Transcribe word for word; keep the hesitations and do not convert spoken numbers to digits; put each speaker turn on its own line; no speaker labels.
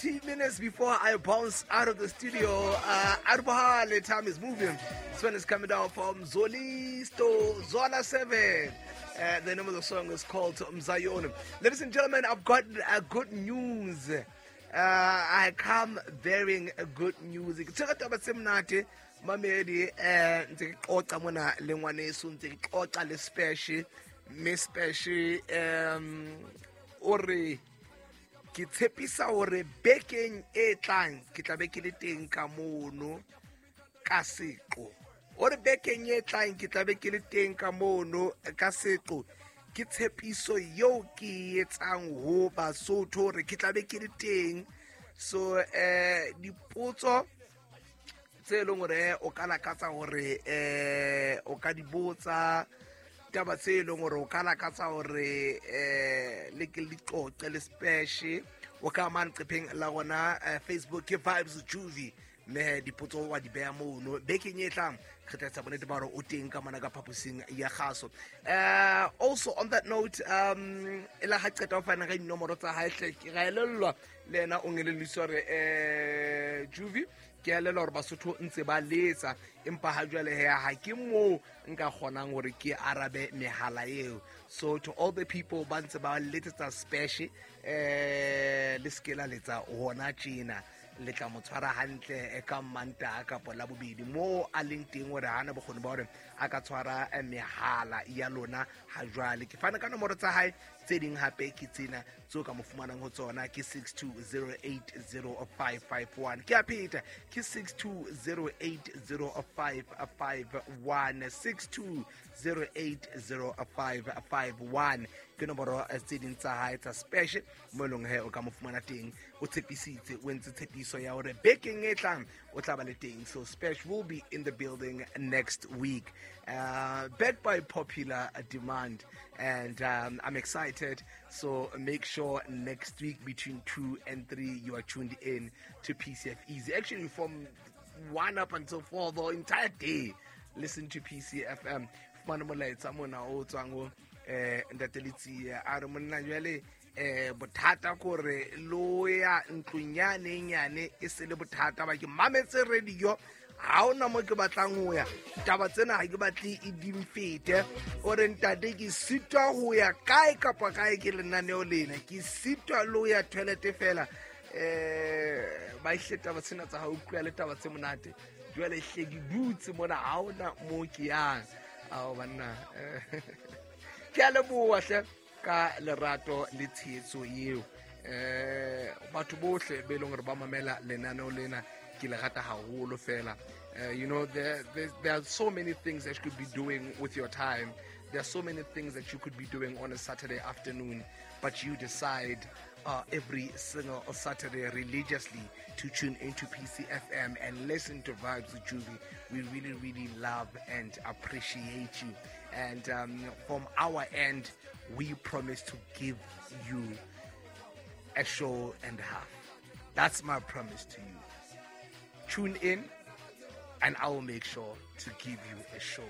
twenty minutes before I bounce out of the studio. Uh, Arbohale, time is moving. This one is coming down from Zolisto, Zola seven. Uh, the name of the song is called Mzayoni. Ladies and gentlemen, I've got uh, good news. Uh, I come bearing good news. Ke tshwere taba tse monate, mamedi, eh, ntse ke qoqa mona le ngwaneso, ntse ke qoqa le Spesh, mme Spesh, um, o re ke tshepisa hore bekeng e tlang ke tla be ke le teng ka mono ka seqo. O re bekeng e tlang ke tla be ke le teng ka mono ka seqo. Ke tshepiso eo ke e etsang ho Basotho hore ke tla be ke le teng. So, eh, dipotso tse leng hore o ka lakatsa hore, eh, o ka di botsa, taba tse leng hore o ka lakatsa hore, eh, le ke le qoqe le Spesh, o ka mane leqepheng la rona, eh, Facebook ke Vibes Juvie, mme dipotso wa di beha mono. Bekeng e tlang re tla etsa bonnete ba hore o teng ka mona ka phaposing ya kgaso. Eh, also on that note, um, e la ha qeta ho fana ka dinomoro tsa hae hle, ke ra elellwa le yena o ngelelliswa hore, eh, Juvie, ke elellwa hore Basotho ntse ba letsa, empa ha jwale he, ha ke moo nka kgonang hore ke arabe mehala eo. So to all the people ba ntse ba letsetsa Spesh, eh, le se ke la letsa hona tjena, le tla mo tshwara hantle, eh, ka Mantaha kapa Labobedi moo a leng teng, hore hana bokgoni ba hore a ka tshwara, eh, mehala ya lona ha jwale. Ke fana ka nomoro tsa hae, tse ding hape ke tsena tseo ka mo fumanang ho tsona, ke six two zero eight zero five five one. Ke a pheta, ke six two zero eight zero five five one, six two zero eight zero five five one. Ke nomoro, eh, tse ding tsa hae tsa Spesh, mo e leng he o ka mo fumana teng. O tshepisitse, o entse tshepiso ya hore bekeng e tlang o tla ba le teng. So Spesh will be in the building next week, uh, backed by popular demand, and, um, I'm excited. So make sure next week between two and three you are tuned in to P C F Easy. Actually from one up until four, the entire day, listen to P C F M. Fumana molaetsa mona o tswang ho, eh, Ntate Letsie, a re monna jwale, eh, bothata kore lo ya ntlong yane nyane e se le bothata ba ke mametse radio, ha hona mo ke batlang ho ya, taba tsena ha ke batle e di mfete. O re ntate ke sitwa ho ya kae kapa kae ke lenaneo lena, ke sitwa le ho ya toilet fela. Eh, ba ihle taba tsena tsa ha utlwa le taba tse monate, jwale hle ke dutse mona ha hona mo ke yang. Ao banna, eh, ke a leboha hle ka lerato le tshehetso eo. Eh, batho bohle be leng hore ba mamela lenaneo lena, ke le rata haholo fela. Eh, you know, there, there, there are so many things that you could be doing with your time. There are so many things that you could be doing on a Saturday afternoon, but you decide, uh, every single Saturday religiously to tune into P C F M and listen to Vibes with Juvie. We really, really love and appreciate you. And, um, from our end, we promise to give you a show and a half. That's my promise to you. Tune in, and I will make sure to give you a show